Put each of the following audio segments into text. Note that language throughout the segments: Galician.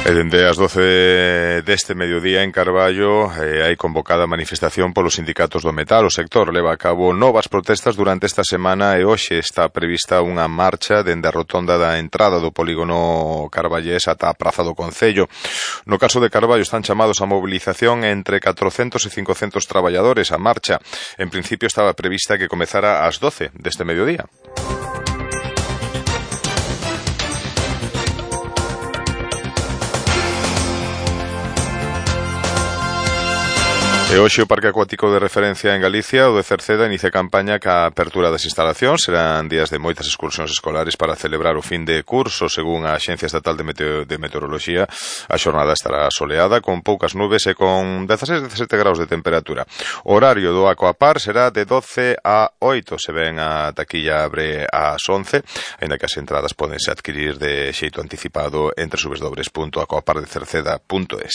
E dende as 12 deste mediodía en Carballo hai convocada manifestación polos sindicatos do metal. O sector leva a cabo novas protestas durante esta semana e hoxe está prevista unha marcha dende a rotonda da entrada do polígono carballés ata a Praza do Concello. No caso de Carballo están chamados a mobilización entre 400 e 500 traballadores. A marcha, en principio, estaba prevista que comezara ás 12 deste mediodía. E hoxe o Parque Acuático de Referencia en Galicia, o de Cerceda, inicia campaña ca apertura das instalacións. Serán días de moitas excursións escolares para celebrar o fin de curso. Según a Axencia Estatal de Meteoroloxía, a xornada estará soleada, con poucas nubes e con 16-17 graus de temperatura. O horario do Aquapar será de 12 a 8. Se ven, a taquilla abre ás 11, aínda que as entradas podense adquirir de xeito anticipado entre www.aquapardecerceda.es.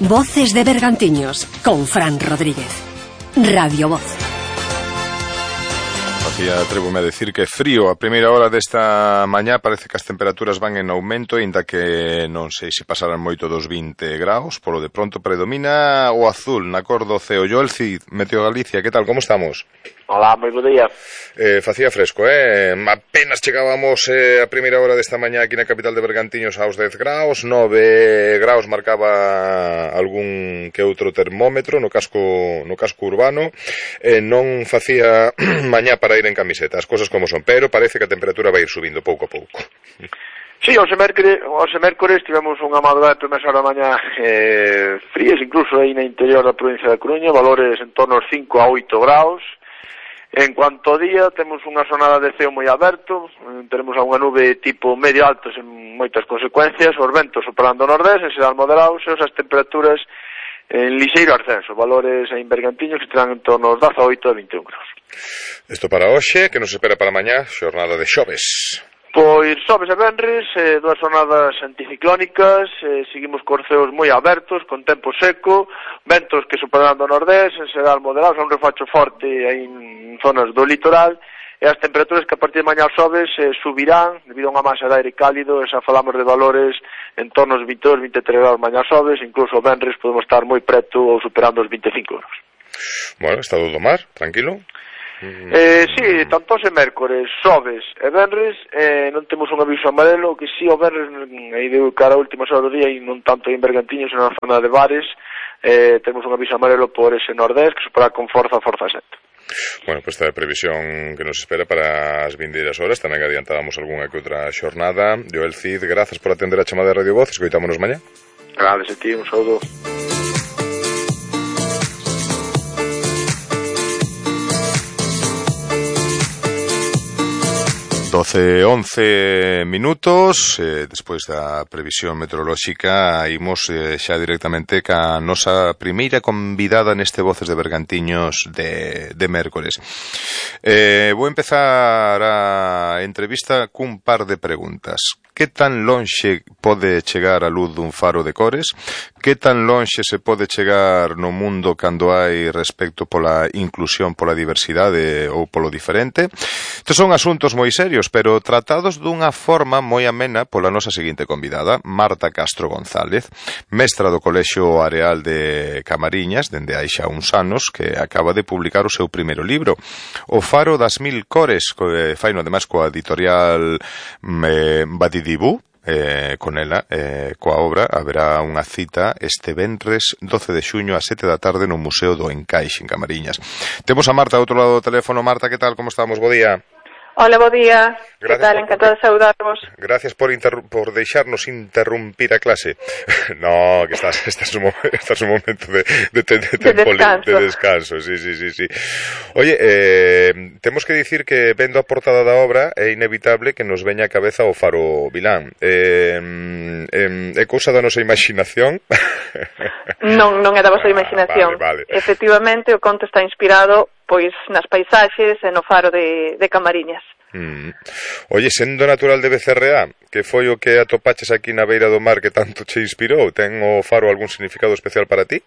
Voces de Bergantiños, con Fran Rodríguez. Radio Voz. Atrévome a decir que frío a primeira hora desta mañá. Parece que as temperaturas van en aumento, inda que non sei se pasarán moito dos 20 graus. Polo de pronto predomina o azul na cor do ceo. Joel Cid, Meteo Galicia, que tal, como estamos? Hola, moi bo día. Facía fresco, apenas chegábamos a primeira hora desta mañá aquí na capital de Bergantiños aos 10 graus, 9 graus marcaba algún que outro termómetro no casco urbano. Non facía mañá para ir en camiseta, as cousas como son, pero parece que a temperatura vai ir subindo pouco a pouco. Sí, os mércores tivemos unha madrugada de primeira hora da mañá frías, incluso aí na interior da provincia da Coruña, valores en torno aos 5 a 8 graus. En cuanto ao día, temos unha xornada de ceo moi aberto, teremos unha nube tipo medio alto sen moitas consecuencias, os ventos soprando nordés, en xeral moderados, e as temperaturas en lixeiro ascenso, valores en Bergantiños que terán en torno aos 18 a 21 graus. Isto para hoxe, que nos espera para mañá, xornada de xoves. Pois xoves e venres, dúas jornadas anticiclónicas, seguimos cos ceos moi abertos, con tempo seco, ventos que superarán do nordés, en xeral moderados, un refacho forte en zonas do litoral, e as temperaturas que a partir de mañá xoves subirán debido a unha masa de aire cálido, e xa falamos de valores en torno aos 22-23 graus mañá xoves, incluso venres podemos estar moi preto ou superando os 25 graus. Bueno, estado do mar, tranquilo? Sí, tanto se mércores, xoves e venres non temos un aviso amarelo, que si o venres aí de cara a últimas horas do día e non tanto en Bergantiños, senón na zona de Bares, temos un aviso amarelo por ese nordés que supera con forza 7. Bueno, pues esta é a previsión que nos espera para as vindeiras horas. Tamén adiantábamos algunha que outra xornada. Joel Cid, grazas por atender a chamada de Radio Voz. Escoitámonos mañá. Gracias a ti, un saúdo. 12:11 minutos, despois da previsión meteorolóxica, imos xa directamente ca nosa primeira convidada neste Voces de Bergantiños de mércores. Vou empezar a entrevista cun par de preguntas. Que tan lonxe pode chegar a luz dun faro de cores? Que tan lonxe se pode chegar no mundo cando hai respecto pola inclusión, pola diversidade ou polo diferente? Estes son asuntos moi serios, pero tratados dunha forma moi amena pola nosa seguinte convidada, Marta Castro González, mestra do Colexio Areal de Camariñas, dende hai xa uns anos, que acaba de publicar o seu primeiro libro, O Faro das Mil Cores, faino ademais coa editorial Badidibú. Con ela, coa obra, haberá unha cita este venres 12 de xuño a 7 da tarde no Museo do Encaixe en Camariñas. Temos a Marta ao outro lado do teléfono. Marta, que tal? Como estamos? Bo día. Hola, bo día. Que tal? Encantado de saudárvos. Gracias por deixarnos interrumpir a clase. No, que estás un momento de descanso. Sí. Oye, temos que dicir que vendo a portada da obra é inevitable que nos veña a cabeza o Faro Vilán. É cousa da nosa imaginación? Non é da vosa imaginación. Vale. Efectivamente, o conto está inspirado pois nas paisaxes e no faro de Camariñas. Oye, sendo natural de Becerreá, que foi o que atopaches aquí na beira do mar que tanto che inspirou, ten o faro algún significado especial para ti?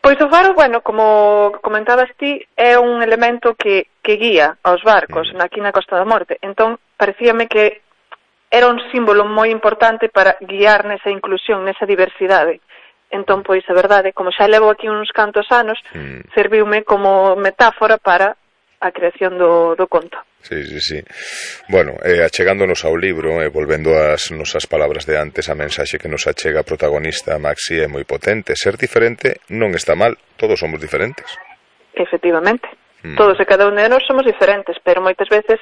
Pois o faro, bueno, como comentabas ti, é un elemento que guía aos barcos aquí na Costa da Morte. Entón, parecíame que era un símbolo moi importante para guiar nesa inclusión, nesa diversidade. Entón, pois, a verdade, como xa levo aquí uns cantos anos, serviume como metáfora para a creación do conto. Sí. Bueno, achegándonos ao libro, volvendo ás nosas palabras de antes, a mensaxe que nos achega a protagonista Maxi é moi potente. Ser diferente non está mal, todos somos diferentes. Efectivamente. Todos e cada un de nós somos diferentes, pero moitas veces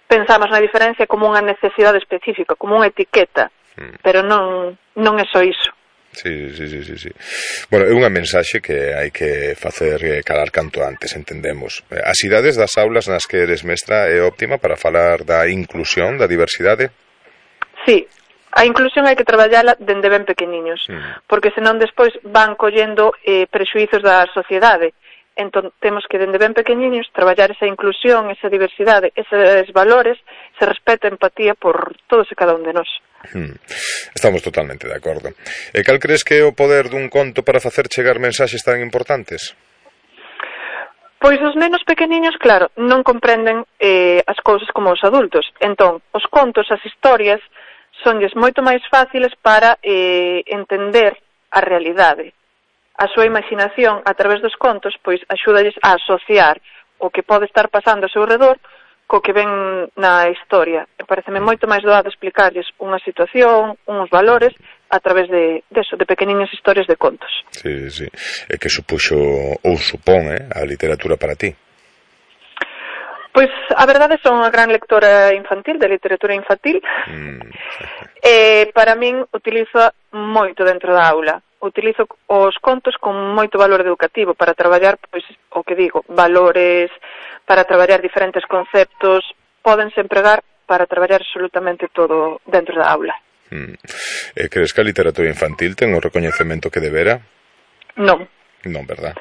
pensamos na diferencia como unha necesidade específica, como unha etiqueta, pero non é só iso. Sí. Bueno, é unha mensaxe que hai que facer calar canto antes, entendemos. As idades das aulas nas que eres mestra é óptima para falar da inclusión, da diversidade? Sí, a inclusión hai que traballala dende ben pequeniños, porque senón despois van collendo prexuízos da sociedade. Entón, temos que dende ben pequeniños traballar esa inclusión, esa diversidade, eses valores, ese respeto e empatía por todos e cada un de nós. Estamos totalmente de acordo. E cal crees que é o poder dun conto para facer chegar mensaxes tan importantes? Pois os nenos pequeniños, claro, non comprenden as cousas como os adultos. Entón, os contos, as historias, sonlles moito máis fáciles para entender a realidade. A súa imaginación, a través dos contos, pois axúdalles a asociar o que pode estar pasando ao seu redor co que ven na historia. E pareceme moito máis doado explicarlles unha situación, uns valores, a través de pequeniñas historias de contos. Sí. E que supuxo ou supón a literatura para ti? Pois, a verdade, son unha gran lectora infantil, de literatura infantil. Para min, utilizo moito dentro da aula. Utilizo os contos con moito valor educativo para traballar, pois, o que digo, valores, para traballar diferentes conceptos, pódense empregar para traballar absolutamente todo dentro da aula. Crees que a literatura infantil ten o recoñecemento que debera? Non. Non, verdad?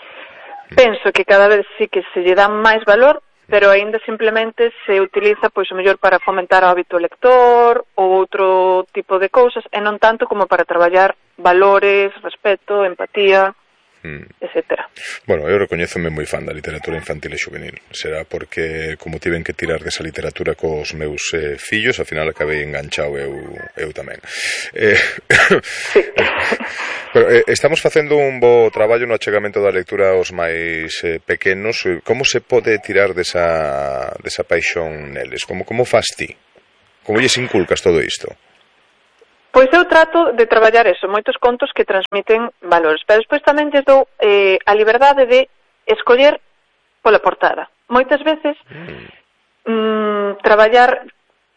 Penso que cada vez sí que se lle dá máis valor, pero aínda simplemente se utiliza, pois, o mellor para fomentar o hábito lector ou outro tipo de cousas, e non tanto como para traballar valores, respeto, empatía, etcétera. Bueno, eu recoñézome moi fan da literatura infantil e juvenil. Será porque, como tiven que tirar desa literatura cos meus fillos, ao final acabei enganchado eu tamén. Sí. Pero, estamos facendo un bo traballo no achegamento da lectura aos máis pequenos. Como se pode tirar desa paixón neles? Como fas ti? Como lles inculcas todo isto? Pois eu trato de traballar eso, moitos contos que transmiten valores, pero despois tamén lles dou a liberdade de escoller pola portada. Moitas veces traballar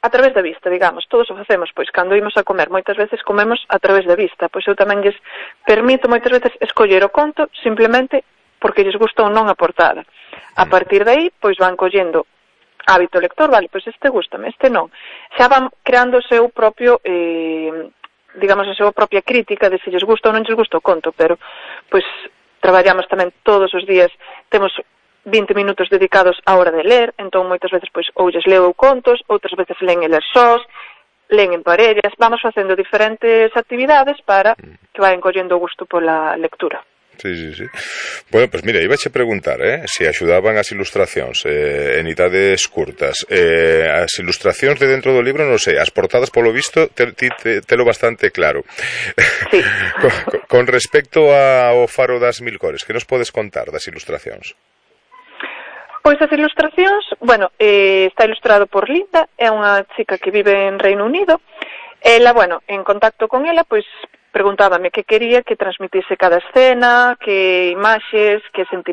a través da vista, digamos, todos o facemos, pois cando imos a comer, moitas veces comemos a través da vista, pois eu tamén lles permito moitas veces escoller o conto simplemente porque lles gusta ou non a portada. A partir de aí, pois van collendo hábito lector, vale, pois este gústame, este non. Xa van creando o seu propio, digamos, a súa propia crítica de se lles gusta ou non lles gusta o conto, pero, pois, traballamos tamén todos os días, temos 20 minutos dedicados á hora de ler, entón moitas veces, pois, ou lles leo contos, outras veces leen eles sós, leen en parellas, vamos facendo diferentes actividades para que vayan collendo o gusto pola lectura. Sí. Bueno, pues mira, iba a preguntar, se axudaban as ilustracións en idades curtas. As ilustracións de dentro do libro, non sei, as portadas polo visto telo bastante claro. Sí. Con respecto ao Faro das Mil Cores, que nos podes contar das ilustracións? Pois as ilustracións, bueno, está ilustrado por Linda, é unha chica que vive en Reino Unido. Ela, bueno, en contacto con ela, pois preguntábame que quería que transmitise cada escena, que imaxes, que sentimentos